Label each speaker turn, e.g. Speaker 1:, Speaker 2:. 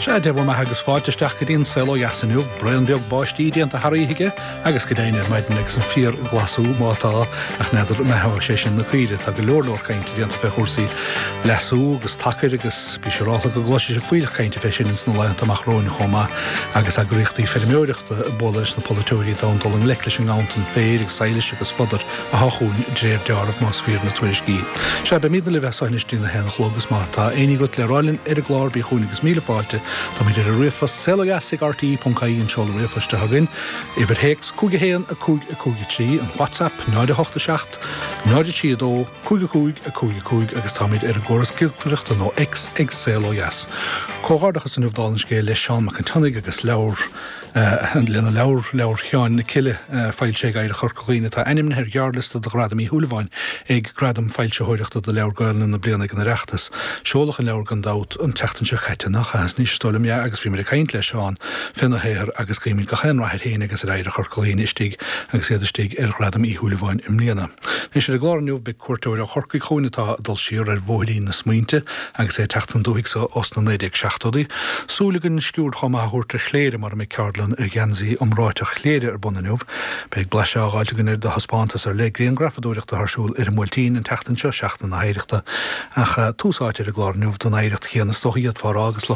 Speaker 1: Sea, Dé bhur mbeatha agus fáilte isteach go dtí an Saol Ó Dheas inniu. Braon beag báistí déanta thar oíche aige agus go deimhin ar maidin agus an fíorghlasú má tá, ach n'fheadar an mbeathóidh sé sin na caoirigh. Tá go leor leor cainte déanta fé chúrsaí leasú agus tacair agus bí siúrálta go gcloisfidh sibh fuílleach cainte fé sin ins na laethanta amach romhainn chomh maith agus eagraíochtaí feirmeoireachta ag bualadh leis na polaiteoirí d'fhonn dul i ngleic leis an nganntan féir agus sadhlais agus fodair athá chugainn de réir deáraimh más fíor na tuairiscí. Sea, beimidne libh as so anois dtí'n 1 a chlog agus má tá éinní agat le rá linn ar an gclár bí chugainn agus míle fáilte. Táimid ar an ríomhphost saolodheas ag rte.ie an seoladh ríomhphoist atá againn. Uimhir théacs 5 1 5 5 3, an WhatsApp 0 8 7 0 3 2 5 5 5 5 agus táimid ar an gcóras giolcaireachta nó X ag Saol Ó Dheas. Comhghairdeachas inniu dála an scéil le Seán Mac an tSionnaigh agus leabhar lena leabhar, Leabhar Sheáin na Cille, foilsithe ag Oidhreacht Chorca Dhuibhne, atá ainmnithe ar ghearrliosta do Ghradam Uí Shúilleabháin ag Gradaim Foilsitheoireachta do Leabhar Gaelainne na Bliana ag an Oireachtas. Seoladh an leabhar gan dabht an tseachtain seo caite, nach ea? Anois is dóigh liom, yeah, agus bhí muid ag caint le Seán féna shaothar agus guímid gach aon rath air féin agus ar Oidhreacht Chorca Dhuibhne istigh agus iad istigh ar Ghradam Uí Shúilleabháin i mbliana. Anois ar an gclár inniu beidh cuairteoir ó Chorcaigh chugainn atá ag dul siar ar bhóithrín na smaointe agus é ag teacht don dúthaigh so ós na 1970idí. Súil againn sciuird chomh maith a thabhairt ar Chléire mar a mbeidh ceardlann ar gheansaí iomráiteach Chléire ar bun inniu. Beidh blaiseadh á dh'fháilt againn ar do thaispeántas ar leith grianghrafadóireachta atá ar siúl ar an mBuailtín an tseachtain seo, Seachtain na hOidhreachta. Ach tús áite ar an gclár inniu don oidhreacht chéanna is dócha a d'fhéadfá a rá agus.